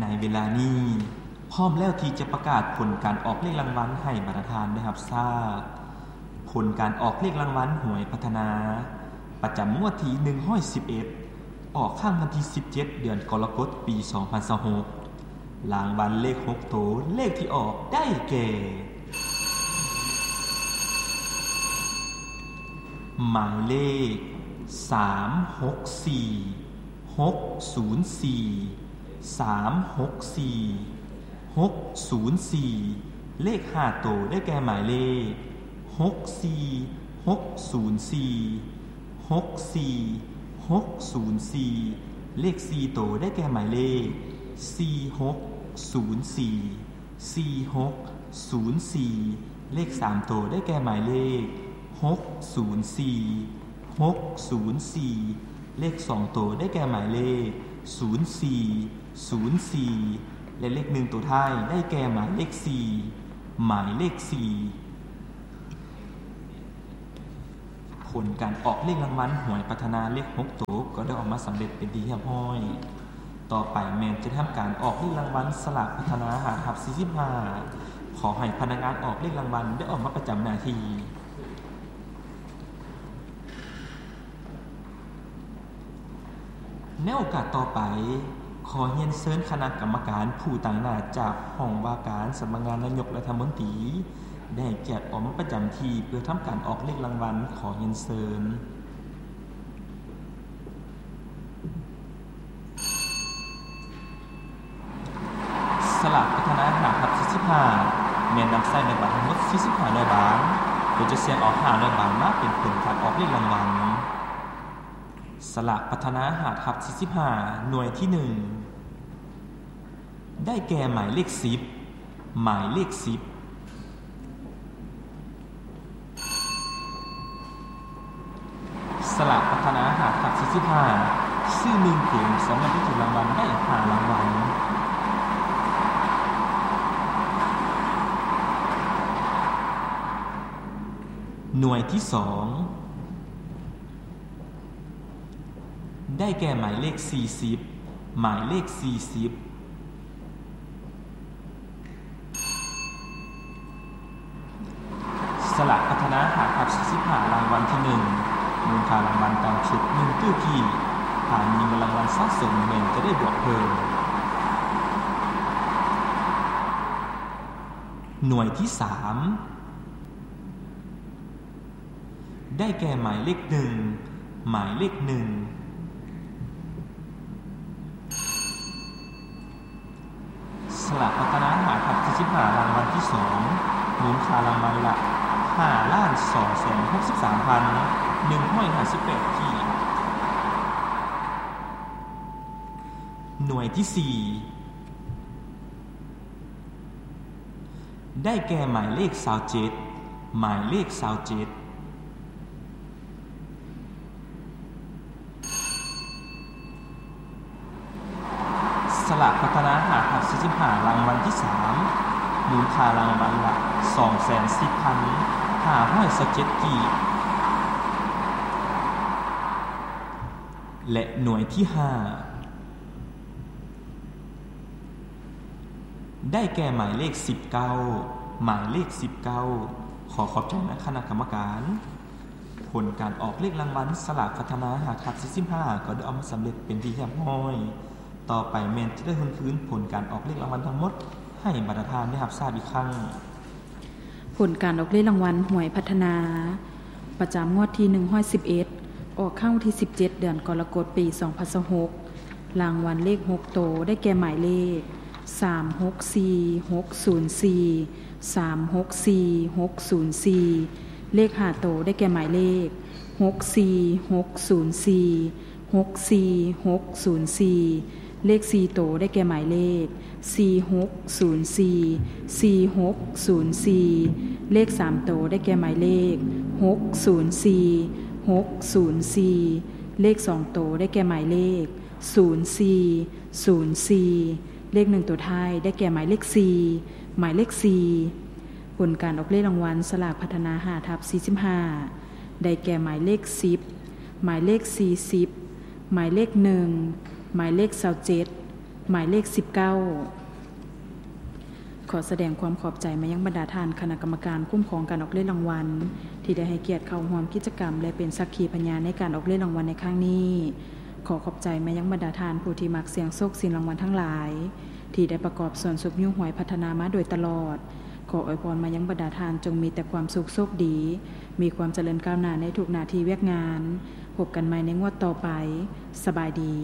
ໃນເວລານີ້ ພ້ອມແລ້ວທີ່ຈະປະກາດຜົນການອອກເລກລາງວັນໃຫ້ບັນດາທ່ານໄດ້ຮັບຊາບ. ຜົນການອອກເລກລາງວັນຫວຍພັດທະນາ ປະຈຳງວດທີໜຶ່ງຮ້ອຍສິບເອັດ ອອກຄັ້ງວັນທີສິບເຈັດ ເດືອນກໍລະກົດ ປີສອງພັນຊາວຫົກ. ລາງວັນເລກຫົກໂຕ ເລກທີ່ອອກໄດ້ແກ່ ໝາຍເລກ ສາມຫົກສີ່ ຫົກສູນສີ່ ສາມຫົກສີ່ ຫົກສູນສີ່ ເລກຫ້າໂຕ ໄດ້ແກ່ໝາຍເລກ ຫົກສີ່ ຫົກສູນສີ່ ຫົກສີ່ ຫົກສູນສີ່ ເລກສີ່ໂຕ ໄດ້ແກ່ໝາຍເລກ ສີ່ຫົກສູນສີ່ ສີ່ຫົກສູນສີ່ ເລກສາມໂຕ ໄດ້ແກ່ໝາຍເລກ ຫົກສູນສີ່ ຫົກສູນສີ່ ເລກສອງໂຕ ໄດ້ແກ່ໝາຍເລກ ສູນສີ່ ສູນສີ່ ແລະ ເລກໜຶ່ງໂຕທ້າຍ ໄດ້ແກ່ໝາຍເລກສີ່ ໝາຍເລກສີ່. ຜົນການອອກເລກລາງວັນຫວຍພັດທະນາເລກຫົກໂຕ ກໍໄດ້ອອກມາສຳເລັດເປັນທີ່ຮຽບຮ້ອຍ. ຕໍ່ໄປແມ່ນຈະທຳການອອກເລກລາງວັນສະຫຼາກພັດທະນາຫ້າທັບສີ່ສິບຫ້າ. ຂໍໃຫ້ພະນັກງານອອກເລກລາງວັນໄດ້ອອກມາປະຈຳໜ້າທີ່. ໃນໂອກາດຕໍ່ໄປ, ຂໍຮຽນເຊີນຄະນະກຳມະການຜູ້ຕາງໜ້າຈາກຫ້ອງວ່າການສຳນັກງານນາຍົກລັດຖະມົນຕີ ໄດ້ໃຫ້ກຽດອອກມາປະຈຳທີ່ເພື່ອທຳການອອກເລກລາງວັນ. ຂໍຮຽນເຊີນ. ສະຫຼາກພັດທະນາຫ້າທັບສີ່ສິບຫ້າ ແມ່ນນຳໃຊ້ໃນບັດທັງໝົດສີ່ສິບຫ້າໜ່ວຍບາງ, ໂດຍຈະສ່ຽງເອົາຫ້າໜ່ວຍບາງມາເປັນຜົນການອອກເລກລາງວັນ. ສະຫຼາກພັດທະນາຫ້າທັບສີ່ສິບຫ້າ ໜ່ວຍທີໜຶ່ງ ໄດ້ແກ່ໝາຍເລກສິບ ໝາຍເລກສິບ. ສະຫຼາກພັດທະນາຫ້າທັບສີ່ສິບຫ້າ ຊື້ໜຶ່ງເກມສາມາດໄດ້ຖືກລາງວັນໄດ້ຫ້າລາງວັນ. ໜ່ວຍທີສອງ ໄດ້ແກ່ໝາຍເລກສີ່ສິບ ໝາຍເລກສີ່ສິບ. ສະຫຼາກພັດທະນາຫ້າທັບສີ່ສິບຫ້າ ລາງວັນທີໜຶ່ງ ມູນຄ່າລາງວັນຕ່ຳສຸດໜຶ່ງຕື້ກີບ, ຖ້າມີເງິນລາງວັນສະສົມແມ່ນຈະໄດ້ບວກເພີ່ມ. ໜ່ວຍທີສາມ ໄດ້ແກ່ໝາຍເລກໜຶ່ງ ໝາຍເລກໜຶ່ງ. ສະຫຼາກພັດທະນາຫ້າທັບສີ່ສິບຫ້າ ລາງວັນທີສອງ ມູນຄ່າລາງວັນລະຫ້າລ້ານສອງແສນຫົກສິບສາມພັນໜຶ່ງຮ້ອຍຫ້າສິບແປດກີບ. ໜ່ວຍທີສີ່ ໄດ້ແກ່ໝາຍເລກຊາວເຈັດ ໝາຍເລກຊາວເຈັດ. ສະຫຼາກພັດທະນາຫ້າທັບສີ່ສິບຫ້າ ລາງວັນທີສາມ ມູນຄ່າລາງວັນລະສອງແສນສິບພັນຫ້າຮ້ອຍຊາວເຈັດກີບ. ແລະ ໜ່ວຍທີຫ້າ ໄດ້ແກ່ໝາຍເລກສິບເກົ້າ ໝາຍເລກສິບເກົ້າ. ຂໍຂອບໃຈນະຄະນະກຳມະການ. ຜົນການອອກເລກລາງວັນສະຫຼາກພັດທະນາຫ້າທັບສີ່ສິບຫ້າ ກໍໄດ້ອອກມາສຳເລັດເປັນທີ່ຮຽບຮ້ອຍ. ຕໍ່ໄປແມ່ນຈະໄດ້ທວນຄືນຜົນການອອກເລກລາງວັນທັງໝົດໃຫ້ບັນດາທ່ານໄດ້ຮັບຊາບອີກຄັ້ງ. ຜົນການອອກເລກລາງວັນຫວຍພັດທະນາ ປະຈຳງວດທີໜຶ່ງຮ້ອຍສິບເອັດ ອອກຄັ້ງວັນທີສິບເຈັດ ເດືອນກໍລະກົດ ປີສອງພັນຊາວຫົກ. ລາງວັນເລກຫົກໂຕ ໄດ້ແກ່ໝາຍເລກ ສາມຫົກສີ່ ຫົກສູນສີ່ ສາມຫົກສີ່ ຫົກສູນສີ່. ເລກຫ້າໂຕ ໄດ້ແກ່ໝາຍເລກ ຫົກສີ່ ຫົກສູນສີ່ ຫົກສີ່ ຫົກສູນສີ່. ເລກສີ່ໂຕ ໄດ້ແກ່ໝາຍເລກ ສີ່ຫົກສູນສີ່ ສີ່ຫົກສູນສີ່. ເລກສາມໂຕ ໄດ້ແກ່ໝາຍເລກ ຫົກສູນສີ່ ຫົກສູນສີ່. ເລກສອງໂຕ ໄດ້ແກ່ໝາຍເລກ ສູນສີ່ ສູນສີ່. ເລກໜຶ່ງໂຕທ້າຍ ໄດ້ແກ່ໝາຍເລກສີ່ ໝາຍເລກສີ່. ຜົນການອອກເລກລາງວັນສະຫຼາກພັດທະນາຫ້າທັບສີ່ສິບຫ້າ ໄດ້ແກ່ໝາຍເລກສິບ ໝາຍເລກສີ່ສິບ ໝາຍເລກໜຶ່ງ ໝາຍເລກຊາວເຈັດ ໝາຍເລກສິບເກົ້າ. ຂໍສະແດງຄວາມຂອບໃຈມາຍັງບັນດາທ່ານຄະນະກຳມະການຄຸ້ມຄອງການອອກເລກລາງວັນ ທີ່ໄດ້ໃຫ້ກຽດເຂົ້າຮ່ວມກິດຈະກຳ ແລະ ເປັນສັກຂີພະຍານໃນການອອກເລກລາງວັນໃນຄັ້ງນີ້. ຂໍຂອບໃຈມາຍັງບັນດາທ່ານຜູ້ທີ່ມັກສ່ຽງໂຊກຊິງລາງວັນທັງຫຼາຍ ທີ່ໄດ້ປະກອບສ່ວນຊຸກຍູ້ຫວຍພັດທະນາມາໂດຍຕະຫຼອດ. ຂໍອວຍພອນມາຍັງບັນດາທ່ານຈົ່ງມີແຕ່ຄວາມສຸກໂຊກດີ, ມີຄວາມຈະເລີນກ້າວໜ້າໃນທຸກໜ້າທີ່ວຽກງານ. ພົບກັນໃໝ່ໃນງວດຕໍ່ໄປ. ສະບາຍດີ.